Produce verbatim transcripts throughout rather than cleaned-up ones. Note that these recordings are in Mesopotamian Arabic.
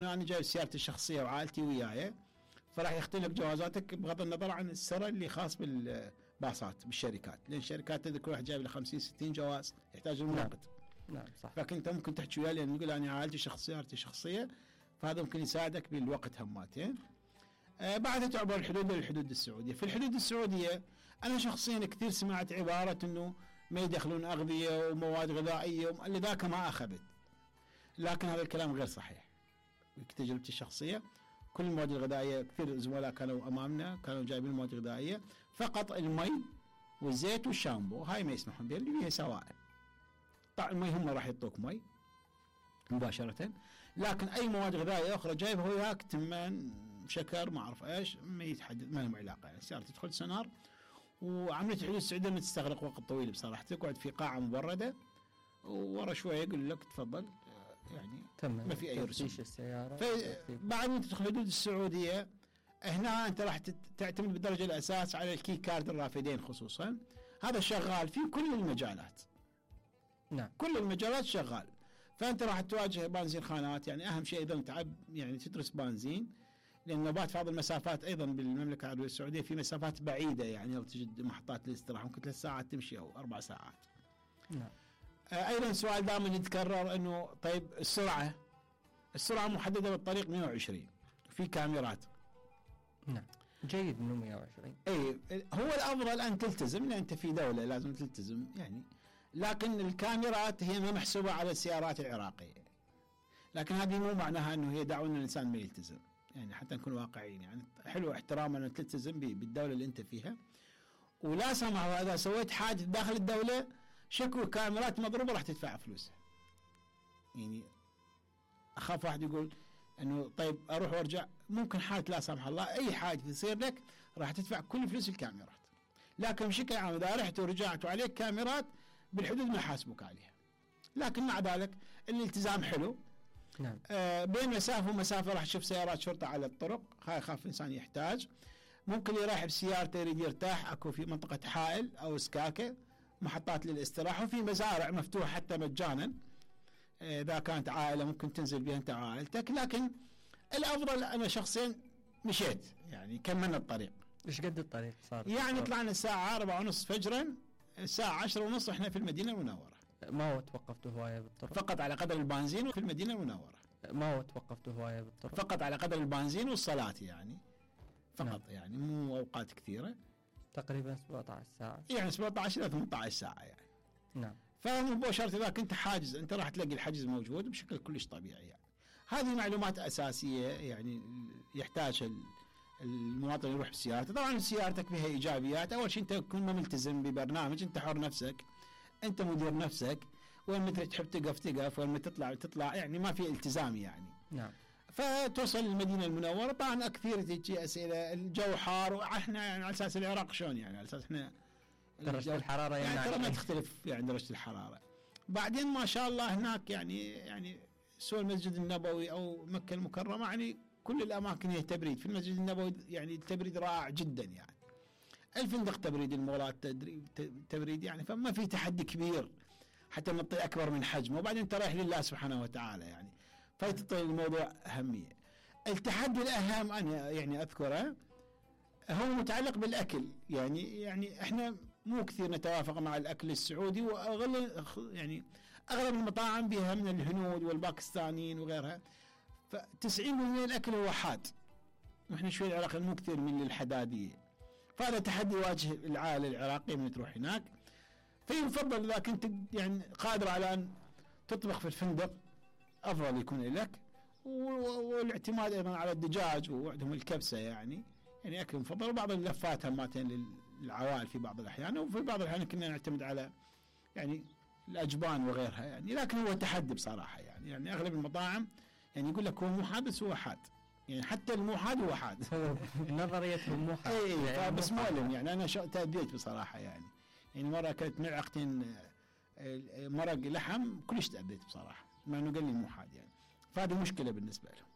انا جايب سيارتي الشخصيه وعائلتي وياي، فراح يختلف جوازاتك بغض النظر عن السر اللي خاص بالباصات بالشركات، لان الشركات تذكر كل واحد جايب له خمسين ستين جواز يحتاج المناقض. نعم صح. فكنت ممكن تحكي وياه لان نقول انا عائلتي شخصيه سيارتي شخصيه، فهذا ممكن يساعدك بالوقت هماتين. آه بعدها تعبر الحدود للحدود السعوديه، في الحدود السعوديه انا شخصيا كثير سمعت عباره انه ما يدخلون اغذيه ومواد غذائيه لذاك ما اخذت، لكن هذا الكلام غير صحيح. بتجربتي الشخصيه كل المواد الغذائيه كثير زملاء كانوا امامنا كانوا جايبين المواد الغذائيه، فقط المي والزيت والشامبو هاي ما يسمحون بها اللي فيها سوائل. طبعا المي هم راح يعطوك مي مباشره، لكن اي مواد غذائيه اخرى جايبها وياك تمن شكر ما اعرف ايش ما يتحدد ما لهم علاقه. يعني السياره تدخل سنار، وعمليه الحدود السعوديه ما تستغرق وقت طويل بصراحه، تقعد في قاعه مبرده وورا شويه يقول لك تفضل يعني تمام ما في اي رسوم. السياره بعد ما تدخل الحدود السعوديه هنا انت راح تعتمد بالدرجه الاساس على الكي كارد الرافدين خصوصا، هذا شغال في كل المجالات. نعم كل المجالات شغال، فانت راح تواجه بنزين خانات. يعني اهم شيء ايضا تعب يعني تدرس بنزين، لان نوبات بعض المسافات ايضا بالمملكه العربيه السعوديه في مسافات بعيده، يعني لو تجد محطات للاستراحه ممكن ثلاث ساعات تمشي او اربع ساعات. نعم. ايضا سؤال دائما يتكرر انه طيب السرعه السرعه محدده بالطريق مئة وعشرين في كاميرات. نعم جيد انه مئة وعشرين. اي هو الافضل ان تلتزم لان انت في دوله لازم تلتزم يعني، لكن الكاميرات هي ما محسوبه على السيارات العراقيه، لكن هذه مو معناها انه هي دعوه ان الانسان ما يلتزم، يعني حتى نكون واقعيين. يعني حلو احتراما ان تلتزم بالدوله اللي انت فيها، ولا سمح اذا سويت حادث داخل الدوله شكوى كاميرات مضروبه راح تدفع فلوسها. يعني اخاف واحد يقول انه طيب اروح وارجع، ممكن حادث لا سمح الله اي حادث يصير لك راح تدفع كل فلوس الكاميرات، لكن بشكل عام اذا رحت ورجعت وعليك كاميرات بالحدود ما يحاسبوك عليها. لكن مع ذلك الالتزام حلو. نعم. آه بين مسافه ومسافه راح تشوف سيارات شرطه على الطرق، هاي خاف انسان يحتاج. ممكن يريح بسيارته يريد يرتاح، اكو في منطقه حائل او سكاكه محطات للاستراحه، وفي مزارع مفتوحه حتى مجانا اذا كانت عائله ممكن تنزل بها انت وعائلتك. لكن الافضل انا شخصيا مشيت يعني كملنا الطريق. ايش قد الطريق صار؟ يعني طلعنا الساعه أربعة ونص فجرا، الساعه عشرة ونص احنا في المدينه المنوره. ما هو توقفتوا هوايه بالطرق؟ فقط على قدر البنزين وفي المدينه المنوره. ما هو توقفتوا هوايه بالطرق؟ فقط على قدر البنزين والصلاه يعني فقط. نعم. يعني مو اوقات كثيره، تقريبا سبعة عشر ساعه، يعني سبعة عشر الى ثمانية عشر ساعه يعني. نعم. فمباشرة إذا كنت حاجز أنت راح تلاقي الحجز موجود بشكل كلش طبيعي. يعني هذه معلومات أساسية يعني يحتاج المواطن يروح بسيارته. طبعا سيارتك فيها إيجابيات، أول شيء أنت تكون ملتزم ببرنامج، أنت حر نفسك، أنت مدير نفسك، وين متى تحب تقف تقف، وين متى تطلع تطلع، يعني ما في التزام يعني. نعم. فتوصل المدينة المنورة. طبعا كثير تجي أسئلة الجو حار، وإحنا يعني على أساس العراق شلون يعني على أساس إحنا درجة الحرارة يعني, يعني ترى ما تختلف يعني درجة الحرارة. بعدين ما شاء الله هناك يعني يعني سوى المسجد النبوي أو مكة المكرمة يعني كل الأماكن هي تبريد. في المسجد النبوي يعني التبريد رائع جدا، يعني الفندق تبريد، المولات تبريد، يعني فما في تحدي كبير حتى نعطي أكبر من حجمه. وبعدين أنت رايح لله سبحانه وتعالى يعني، فيعطي الموضوع أهمية. التحدي الأهم أنا يعني أذكره هو متعلق بالأكل. يعني يعني احنا مو كثير نتوافق مع الأكل السعودي، وأغلب يعني أغلب المطاعم بها من الهنود والباكستانيين وغيرها، فتسعين بالمئة من الأكل هو حاد، وإحنا شوي العراقيين مو كثير من الحدادية. فهذا تحدي يواجه العائلة العراقية من تروح هناك. فيفضل إذا كنت يعني قادر على أن تطبخ في الفندق أفضل يكون لك، والاعتماد أيضا على الدجاج وعندهم الكبسة يعني يعني أكل مفضل. وبعض اللفات هماتين للعوائل في بعض الأحيان، وفي بعض الأحيان كنا نعتمد على يعني الأجبان وغيرها يعني. لكن هو تحدي بصراحة يعني يعني أغلب المطاعم يعني يقول لك هو مو حاد بس هو حاد، يعني حتى المو حاد هو حاد. نظريتهم مو حاد. اي يعني بس مؤلم يعني. أنا تأديت بصراحة يعني يعني مرة أكلت ملعقتين مرق لحم كلش تأديت بصراحة، مع إنه قال لي مو حاد يعني. فهذه مشكلة بالنسبة لهم.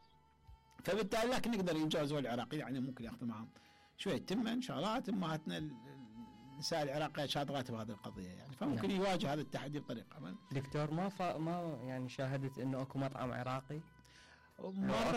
فبالتالي لكن نقدر ينجازوا العراقي يعني ممكن ياخذوا معهم شويه تمن شغلات. امهاتنا النساء العراقيه شاطرات بهذه القضيه يعني، فممكن نعم. يواجه هذا التحدي بطريقه. دكتور ما ف... ما يعني شاهدت انه اكو مطعم عراقي مرة